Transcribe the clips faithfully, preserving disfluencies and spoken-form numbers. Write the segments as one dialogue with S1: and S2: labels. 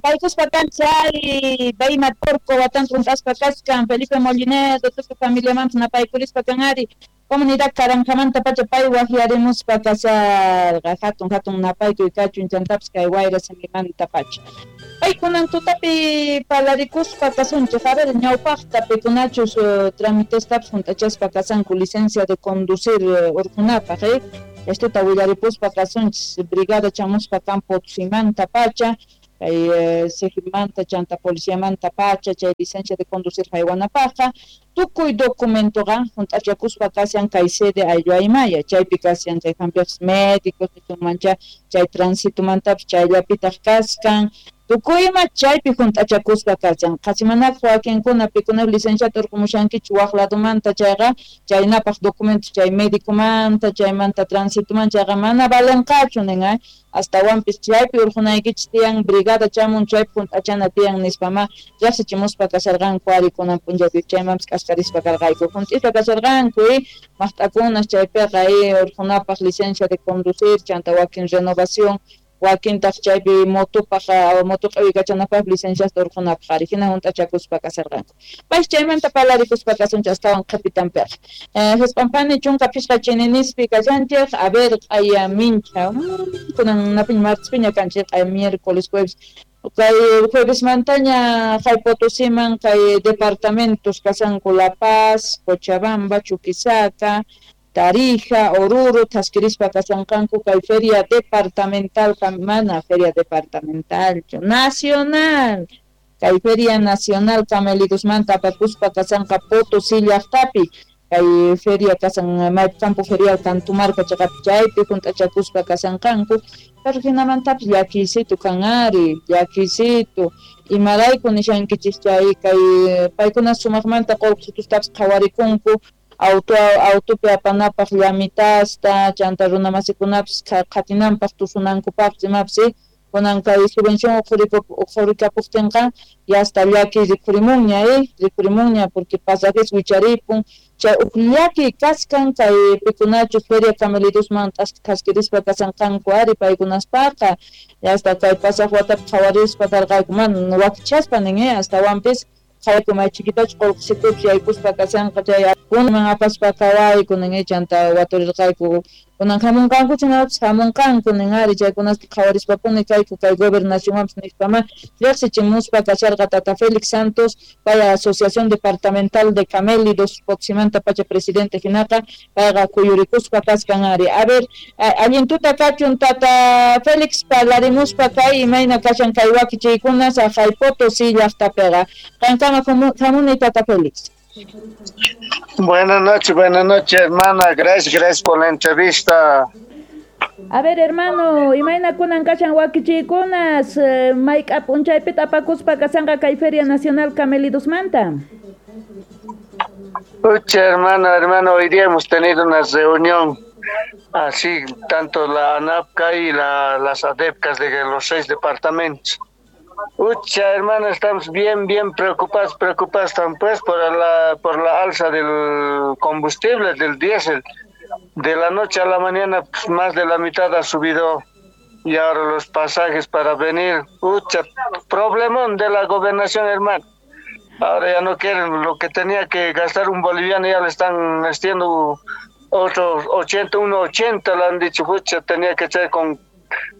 S1: Paykuspa kanchay Bayma Porco watanqa hunt'aspa kaskan Felipe Mollinedo tukuy familiamanpis napaykurispa kan ari comunidad Karanjamanta pacha pay waqyarimuspa kasarqa hatun hatun napaykuy kachun chantapis kay wayra simimanta pacha. Paykunan tutapi palarikuspa kasunchik, a ver, ñawpaqta pikunachus uh, tramitestapis hunt'achaspa kasanku licencia de conducir uh, urqunapaq, eh? Estuta willaripuspa kasunchis brigada chamuspa kan Potosímanta pacha, kay eh, Sejimanta chanta policiamanta pacha chay licencia de conducir haywanapaqqa tukuy documentoqa hunt'achakuspa kashan kay sede ayllu aymaya chaypi kashan chay hampiqpas médicos nisunmancha chay transitumantapis chayllapitaq kaskan tukuyma chaypi hunt'achakuspa kashan qhasimanaq wakinkuna pikuna licenciata urqumushankichu waq ladumanta chayqa chaynapaq documentos chay médicomanta chaymanta transitumanta chayqa mana valenqachu nin eh? Astawanpis chaypi urqunaykichis tiyan brigada chamun chaypi hunt'achana tiyan nispama riqsichimuspa kasharqanku ari kunan p'unchaypi chaymanpis k'askarispa karqayku hunt'ispa kasharqanku eh? Maqt'akunas chaypiqa eh, urqunapaq licencia de conducir chanta wakin renovación wakintaq chaypi motopaq moto q'iwikachanapaq licenciasta urqunapaq ari hina hunt'achakuspa kasharqanku pay chaymanta palarikuspa kasunchik astawan qhipitanpiqa Hisp'anpani chunka phisqa chininispi kashanchik a ver q'aya mincha kunan napiña martespiña kanchik q'aya miércoles jueves kay juevesmantaña hay Potosíman kay departamentos kashanku La Paz, Cochabamba, Chuquisaca, Tarija, Oruro, thaskirispa kashanqanku kay feria departamental, mana feria departamental, nacional, kay feria nacional camelidosmanta apakuspa kashanqa Potosí llaqtapi, kay feria kasan maypi campo ferial Cantumarca chaqapi chaypi hunt'achakuspa kashanqanku, pero hinamantapis llakiysitu kan ari, llakiysitu, imarayku nishankichis chay kay paykuna sumaqmanta qullqisitustapis qhawarikunku auto autopi apanapaq llamitasta chanta runamasikunapis qhatinanpaq tusunankupaqpis imapis kunan kay subvención uqhurikapuqtinqa ya hasta llaki rikhurimunña eh rikhurimunña porque pasajes wicharipun chay uq llaki kaskan kay pikunachu feria camelidosman thaskirispa kashanqanku ari paykunaspaqa ya hasta kay pasaq watapi qhawarispa karqayku mana wakichaspa nin eh astawanpis qhawayku may chiquitachu qullqisitupis yaykuspa kashanqa chay kunan apaspa qhawayku nin chanta waturirqayku kunan hamunqankuchu imapis hamunqanku nin ari chaykunasta qhawarispapuni kayku kay gobernacionwanpis nispama riqsichimuspa kasharqa tata Félix Santos pay Asociación Departamental de Camélidos Potosímanta pacha presidente hinaqa payqa kuyurikuspa kaskan ari a ver allin tuta kachun tata Félix parlarimuspa kay imayna kashan kay wakichiykuna saqay Potosí llaqtapiqa qankama hamuni tata Félix.
S2: Buenas noches, buenas noches, hermana. Gracias, gracias por la entrevista.
S1: A ver, hermano, imayna kunan kashan wakichiykunas mayk'a p'unchaypita apakuspa kashanqa kay Feria Nacional Camelidosmanta.
S2: Ucha, hermana, hermano, hoy día hemos tenido una reunión así, tanto la ANAPCA y la, las ADEPCAS de los seis departamentos. Ucha, hermano, estamos bien, bien preocupados, preocupados pues por la, por la alza del combustible, del diésel. De la noche a la mañana, pues, más de la mitad ha subido y ahora los pasajes para venir. Ucha, problemón de la gobernación, hermano. Ahora ya no quieren, lo que tenía que gastar un boliviano ya le están haciendo otros ochenta, uno ochenta, le han dicho, ucha, tenía que ser con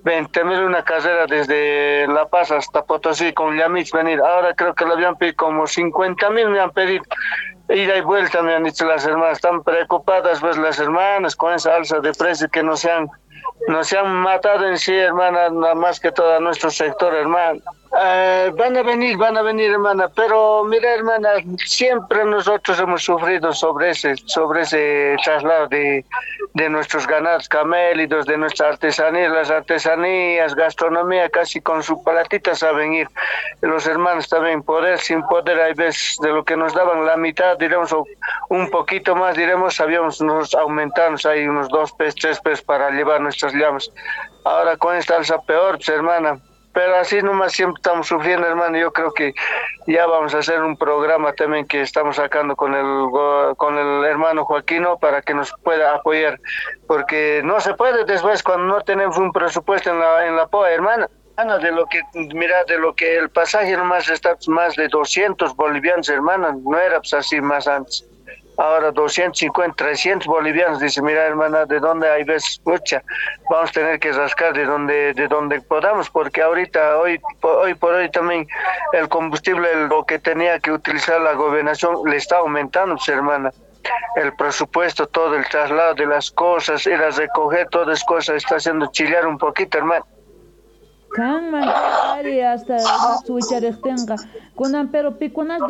S2: veinte mil una carrera desde La Paz hasta Potosí con Yamich venir. Ahora creo que le habían pedido como cincuenta mil, me han pedido. Ida y vuelta me han dicho las hermanas. Están preocupadas pues las hermanas con esa alza de precios que no se han, no se han matado en sí, hermana, nada más que todo nuestro sector, hermano. Eh, van a venir, van a venir, hermana, pero mira, hermana, siempre nosotros hemos sufrido sobre ese, sobre ese traslado de, de nuestros ganados camélidos, de nuestra artesanía, las artesanías, gastronomía, casi con su platita saben ir. Los hermanos también, poder, sin poder, hay veces de lo que nos daban la mitad, diremos, o un poquito más, diremos, sabíamos nos aumentarnos ahí unos dos pesos, tres pesos para llevar nuestras llamas. Ahora con esta alza peor, pues, hermana. Pero así nomás siempre estamos sufriendo, hermano. Yo creo que ya vamos a hacer un programa también que estamos sacando con el, con el hermano Joaquino para que nos pueda apoyar. Porque no se puede después cuando no tenemos un presupuesto en la, en la P O A, hermana. Hermana, de lo que, mira, de lo que el pasaje nomás está pues, más de doscientos bolivianos, hermana, no era pues así más antes. Ahora doscientos cincuenta, trescientos bolivianos, dice, mira, hermana, de dónde hay veces, pucha, vamos a tener que rascar de donde, de donde podamos, porque ahorita, hoy, hoy por hoy también el combustible, lo que tenía que utilizar la gobernación, le está aumentando, pues, hermana. El presupuesto, todo el traslado de las cosas, ir a recoger todas las cosas, está haciendo chillar un poquito, hermano.
S1: Kanman ari hasta wicharejtinqa kunan, pero pikunas